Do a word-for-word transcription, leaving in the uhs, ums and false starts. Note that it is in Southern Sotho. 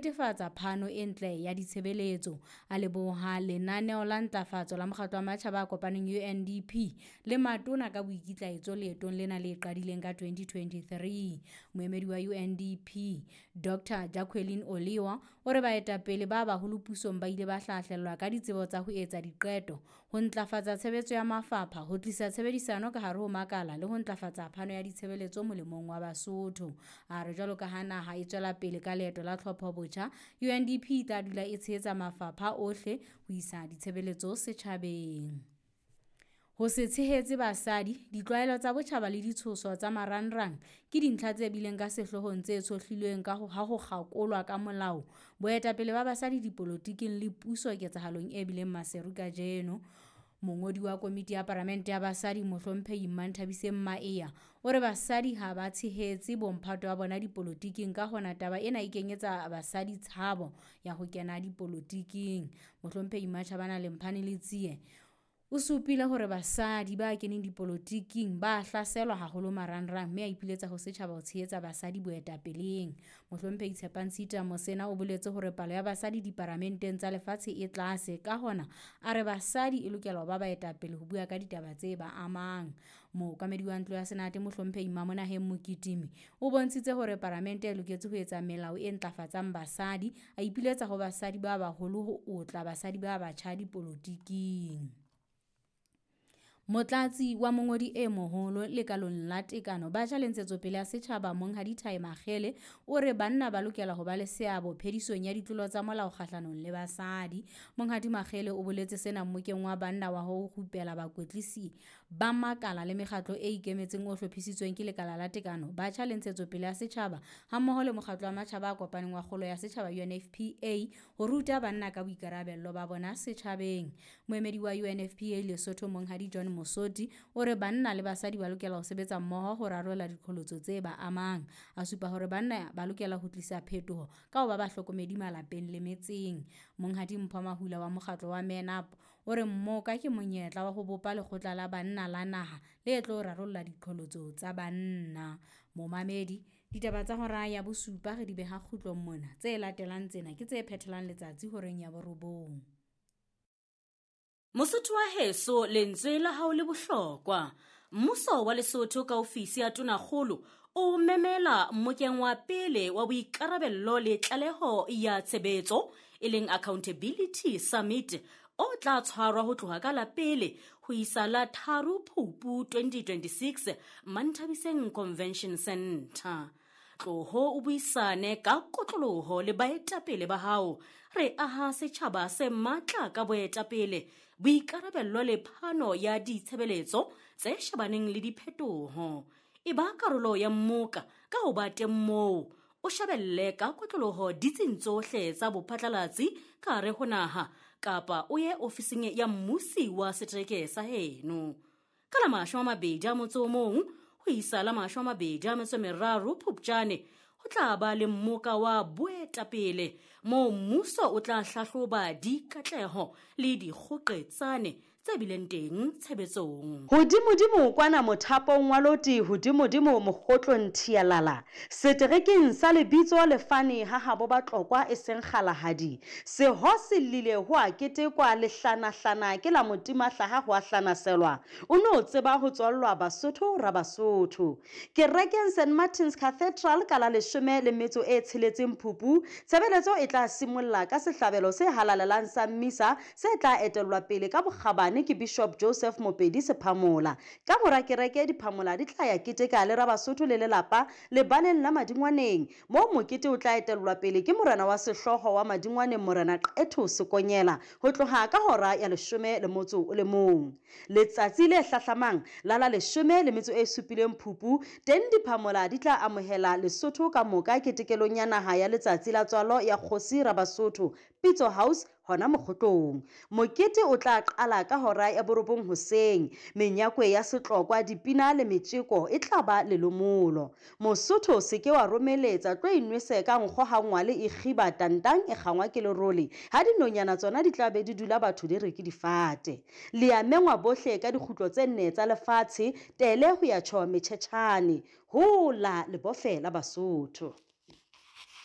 netefatsa phano e ntle ya ditshebeletso. A leboha lenaneo la ntlafatso la mokgatlo wa matjhaba a kopaneng U N D P le matona ka boikitlaetso leetong lena le qadileng ka twenty twenty-three. Moemedi wa U N D P Doctor Jacqueline Oliwa o re baetapele ba baholo pusong ba ile ba hlahlellwa ka ditsebo tsa ho etsa diqeto, ho ntlafatsa tshebetso ya mafapha, ho tlisa tshebedisano ka hare ho makala le ho ntlafatsa phano ya ditshebeletso molemong wa Basotho. A re jwalo ka ha naha e tswela pele ka leeto la tlhopho botjha, U N D P e tla dula e tshehetsa mafapha ohle ho isa ditshebeletso setjhabeng. Ho se tshehetse basadi, ditlwaelo tsa botjhaba le ditshoso tsa marangrang ke dintlha tse bileng ka sehloohong tse tshohlilweng ka ho ha ho kgakolwa ka molao boetapele ba basadi dipolotiking le puso ketsahalong e bileng Maseru kajeno. Mongodi wa komiti ya Palamente ya Basadi Mohlomphehi Mmanthabiseng Maea o re basadi ha ba tshehetse bomphato ba bona dipolotiking, ka hona taba ena e kenyetsa basadi tshabo ya ho kena dipolotiking. Mohlomphehi Mmatjhabana Lemphane Letsie o supile hore basadi ba keneng dipolotiking ba hlaselwa haholo marangrang mme a ipiletsa ho setjhaba ho tshehetsa basadi boetapeleng. Mohlomphehi Tshepang Tshita Mosena o boletse hore palo ya basadi diparamenteng tsa lefatshe e tlase, ka hona a re basadi e lokela ho ba baetapele ho bua ka ditaba tse ba amang. Mookamedi wa ntlo ya Senate Mohlomphehi Mamonaheng Mokitimi o bontshitse hore paramente e loketse ho etsa melao e ntlafatsang basadi, a ipiletsa ho basadi ba baholo ho otla basadi ba batjha dipolotiking. Motlatsi wa mongodi e moholo lekalong la tekano batjha le ntshetsopele ya setjhaba Monghadi Thai Makgele o re banna ba lokela ho ba le seabo phedisong ya ditlolo tsa molao kgahlanong le basadi. Monghadi Makgele o boletse sena mmokeng wa banna wa ho rupela bakwetlisi ba makala le mekgatlo e ikemetseng o hlophisitsweng ke lekala la tekano batjha le ntshetsopele ya setjhaba hammoho le mokgatlo wa matjhaba a kopaneng wa kgolo ya setjhaba U N F P A ho ruta banna ka boikarabello ba bona setjhabeng. Moemedi wa U N F P A Lesotho Monghadi John Mosoti o re banna le basadi ba lokela ho sebetsa mmoho ho rarolla diqholotso tse ba amang. A supa hore banna ba lokela ho tlisa phetoho ka ho ba bahlokomedi malapeng le metseng. Monghadi Mpho Mahula wa mokgatlo wa Men Up o re mmoka ke monyetla wa ho bopa lekgotla la banna la naha le tlo rarolla diqholotso tsa banna. Momamedi, ditaba tsa hora ya bosupa re di beha kgutlong mona. Tse latelang tsena ke tse phethelang letsatsi horeng ya borobong. Mosotho wa heso, lentswe la hao le bohlokwa. Mmuso wa Lesotho ka ofisi ya Tonakgolo o memela mmokeng wa pele wa boikarabello le tlaleho ya tshebetso e leng Accountability Summit o tla tshwarwa ho tloha ka la pele ho isa la tharo Phupu twenty twenty-six Manthabiseng Convention Center. Tloho o buisane ka kotloloho le baetapele ba hao. Re aha setjhaba se matla ka boetapele, boikarabello le phano ya ditshebeletso tse shebaneng le diphetoho. E ba karolo ya mmoka ka ho ba teng moo. O shebelle ka kotloloho ditsing tsohle tsa bophatlalatsi ka hare ho naha kapa o ye ofising ya mmusi wa setereke sa heno. Ka la mashome a mabedi a motso o mong ho isa la mashome a mabedi a metso e meraro Phupjane ho tla ba le mmoka wa boetapele moo mmuso o tla hlahloba dikatleho le dikgoqetsane tse bileng teng tshebetsong. Hodimodimo kwana mothapong wa loti, hodimodimo mokgotlong thialala. Seterekeng sa lebitso lefane ha habo ba Tlokwa e seng kgalahadi. Seho se llile ho a ketekwa lehlanahlana ke la motima hlaha ho a hlanaselwa. O no tseba ho tswallwa Basotho ra Basotho. Kerekeng Saint Martin's Cathedral ka la leshome le metso e tsheletseng Phupu, tshebeletso e tla simolla ka sehlabelo se halalelang sa mmisa se tla etellwa pele ka bokgabane ke Bishop Joseph Mopedi Sephamola. Ka mora kereke diphamola di tla ya keteka le Rabasotho le lelapa lebaleng la Madingwaneng, moo mokete o tla etellwa pele ke morena wa sehlooho wa Madingwaneng Morena Qetho Sekonyela ho tloha ka hora ya leshome le motso o le mong. Letsatsi le hlahlamang la la leshome le metso e supileng Phupu, teng diphamola di tla amohela Lesotho ka moka ketekelong ya naha ya letsatsi la tswalo ya kgosi Rabasotho Pitso House hona mokgotlong. Mokete o tla qala ka hora ya borobong hoseng. Menyakwe ya setlokwa, dipina le metjeko e tla ba lelomolo. Mosotho se ke wa romeletsa, tlo inwese ka nkgo ha ngwale e kgiba tantang e kgangwa ke lerole. Ha dinonyana tsona di tla be di dula batho di re ke difate. Le a mengwa bohle ka dikgutlo tse nne tsa lefatshe, tele ho ya tjho metjhetjhane. Hola le bofe la Basotho.